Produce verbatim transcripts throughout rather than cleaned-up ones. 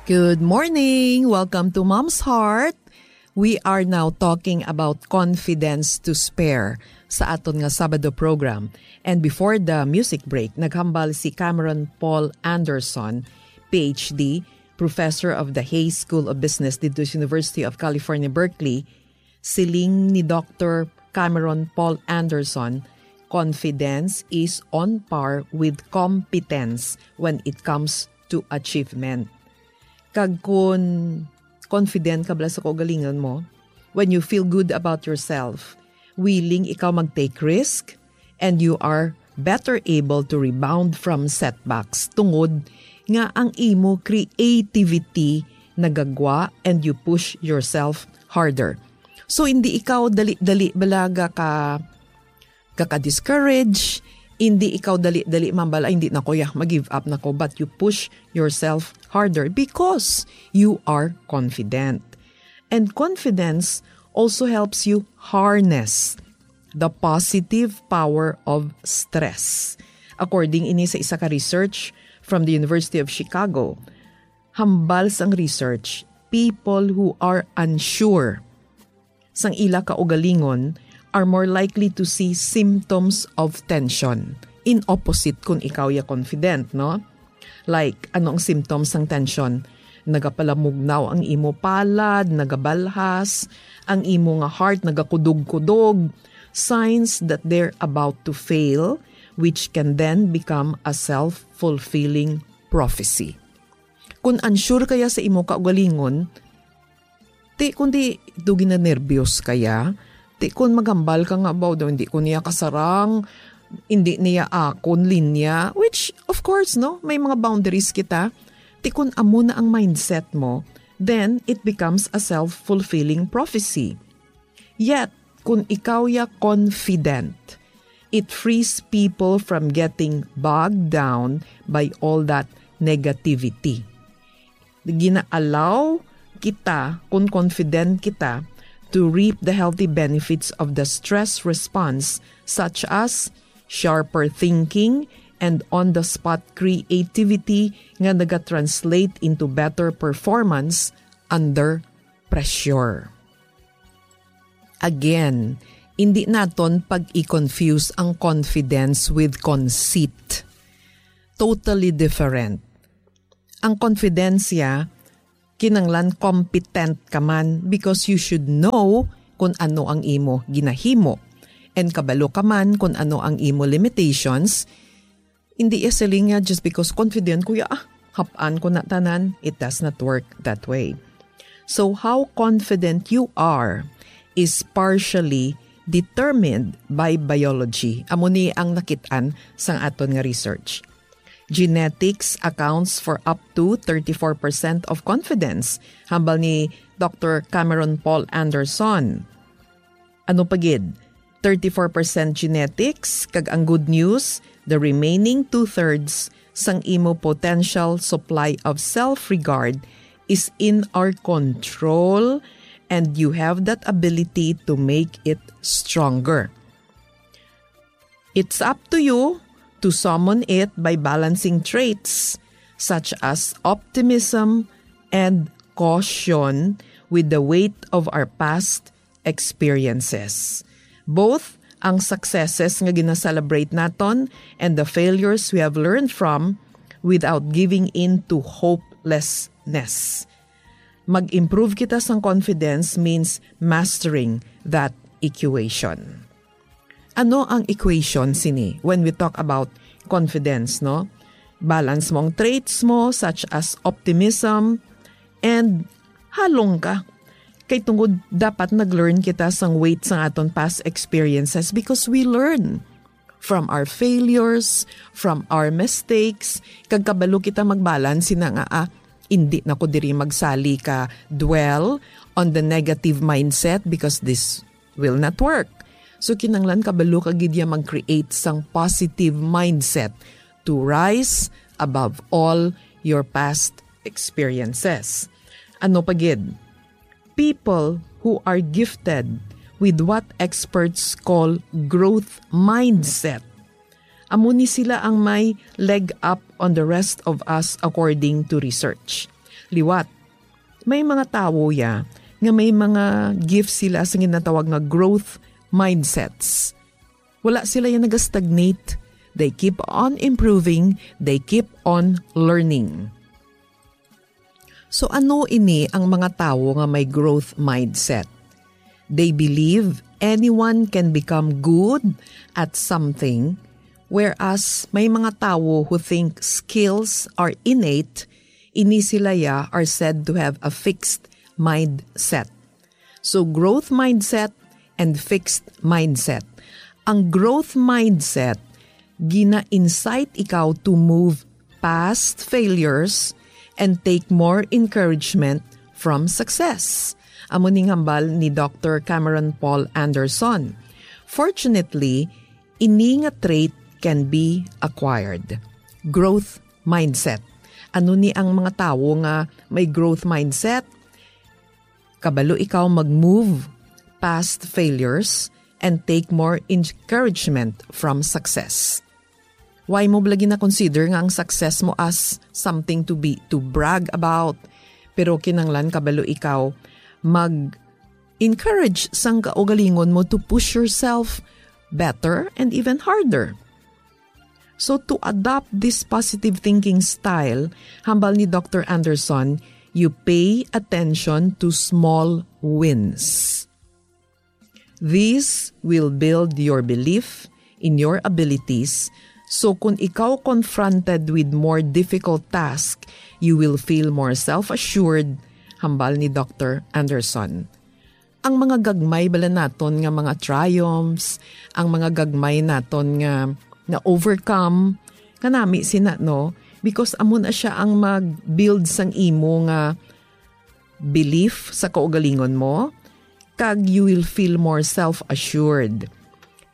Good morning! Welcome to Mom's Heart. We are now talking about confidence to spare sa aton nga Sabado program. And before the music break, naghambal si Cameron Paul Anderson, P H D, professor of the Hayes School of Business dito sa University of California, Berkeley. Siling ni Doctor Cameron Paul Anderson, confidence is on par with competence when it comes to achievement. Kag kun confident ka bala sa kaugalingon mo, when you feel good about yourself, willing ikaw mag-take risk, and you are better able to rebound from setbacks tungod nga ang imo creativity nagagwa and you push yourself harder. So, hindi ikaw dali-dali balaga ka, ka-discourage, hindi ikaw dali-dali mambala, "Hindi na ko, ya, mag-give up na ko," but you push yourself harder because you are confident. And confidence also helps you harness the positive power of stress. According ini sa isa ka research from the University of Chicago, hambal sang research, people who are unsure sang ila kaugalingon are more likely to see symptoms of tension. In opposite kun ikaw ya confident, no? Like, ano ang symptoms sang tension? Nagapalamugnaw ang imo palad, nagabalhas, ang imo nga heart nagakudog-kudog. Signs that they're about to fail, which can then become a self-fulfilling prophecy. Kun unsure kaya sa imo kaugalingon, ti kundi do ginanerbyos kaya, ti kun maghambal ka nga, "Baw daw, hindi ko niya kasarang, hindi niya akon linya," which, of course, no, may mga boundaries kita. Ti kun amo na ang mindset mo, then it becomes a self-fulfilling prophecy. Yet, kun ikaw ya confident, it frees people from getting bogged down by all that negativity. Gina-allow kita, kun confident kita, to reap the healthy benefits of the stress response, such as sharper thinking and on-the-spot creativity nga nagatranslate into better performance under pressure. Again, hindi naton pag-i-confuse ang confidence with conceit. Totally different. Ang confidence ya, kinanglan competent ka man because you should know kung ano ang imo ginahimo. And kabalo ka man kung ano ang imo limitations. Hindi ya siling nga just because confident ko ya, ah, hap-an ko na tanan. It does not work that way. So how confident you are is partially determined by biology. Amo ni ang nakit-an sang aton nga research. Genetics accounts for up to thirty-four percent of confidence, hambal ni Doctor Cameron Paul Anderson. Ano pa gid? Thirty-four percent genetics, kag ang good news, the remaining two-thirds sang imo potential supply of self-regard is in our control, and you have that ability to make it stronger. It's up to you to summon it by balancing traits such as optimism and caution with the weight of our past experiences. Both ang successes nga gina-celebrate naton and the failures we have learned from without giving in to hopelessness. Mag-improve kita sang confidence means mastering that equation. Ano ang equation sini when we talk about confidence, no? Balance mo ang traits mo such as optimism and halong ka. Kay tungod dapat nag-learn kita sang weight sang aton past experiences because we learn from our failures, from our mistakes, kag kabalo kita magbalance sina nga, ah, hindi na ko diri magsali ka dwell on the negative mindset because this will not work. So, kinanglan kabalo ka gid ya mag-create sang positive mindset to rise above all your past experiences. Ano pa gid? People who are gifted with what experts call growth mindset. Amo ni sila ang may leg up on the rest of us according to research. Liwat, may mga tawo ya nga may mga gift sila sa ginatawag nga growth mindsets. Wala sila ya nagastagnate. They keep on improving. They keep on learning. So ano ini ang mga tawo nga may growth mindset? They believe anyone can become good at something, whereas may mga tawo who think skills are innate, ini sila ya are said to have a fixed mindset. So growth mindset and fixed mindset. Ang growth mindset, gina-incite ikaw to move past failures and take more encouragement from success. Amo ning hambal ni Doctor Cameron Paul Anderson. Fortunately, ini nga trait can be acquired. Growth mindset. Ano ni ang mga tawo nga may growth mindset? Kabalo ikaw mag-move past failures and take more encouragement from success. Why mo bala gina-consider nga ang success mo as something to be, to brag about? Pero kinahanglan kabalo ikaw mag-encourage sang kaugalingon mo to push yourself better and even harder. So to adopt this positive thinking style, hambal ni Doctor Anderson, you pay attention to small wins. This will build your belief in your abilities. So kung ikaw confronted with more difficult task, you will feel more self-assured, hambal ni Doctor Anderson. Ang mga gagmay bala naton nga mga triumphs, ang mga gagmay naton nga na-overcome, kanami sina, no? Because amo na siya ang mag-build sang imo nga belief sa kaugalingon mo, kag you will feel more self-assured.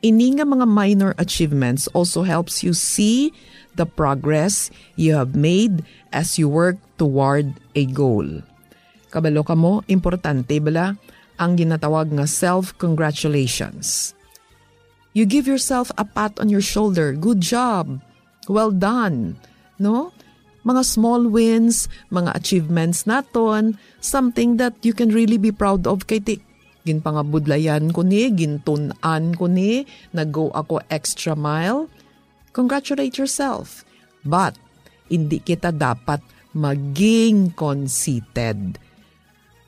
Ini nga mga minor achievements also helps you see the progress you have made as you work toward a goal. Kabalo kamo, importante bala ang ginatawag nga self-congratulations. You give yourself a pat on your shoulder. Good job. Well done. No? Mga small wins, mga achievements naton, something that you can really be proud of. Kay ti, ginpangabudlayan ko ni, gintun-an ko ni, nag-go ako extra mile. Congratulate yourself. But, hindi kita dapat maging conceited.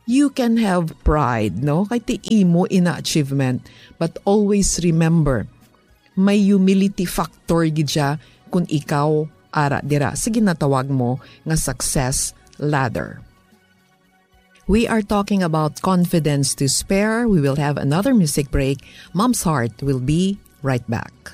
You can have pride, no? Kay ti imo ina achievement, but always remember, may humility factor gid siya kung ikaw ara dira sa ginatawag mo nga success ladder. We are talking about confidence to spare. We will have another music break. Mom's Heart will be right back.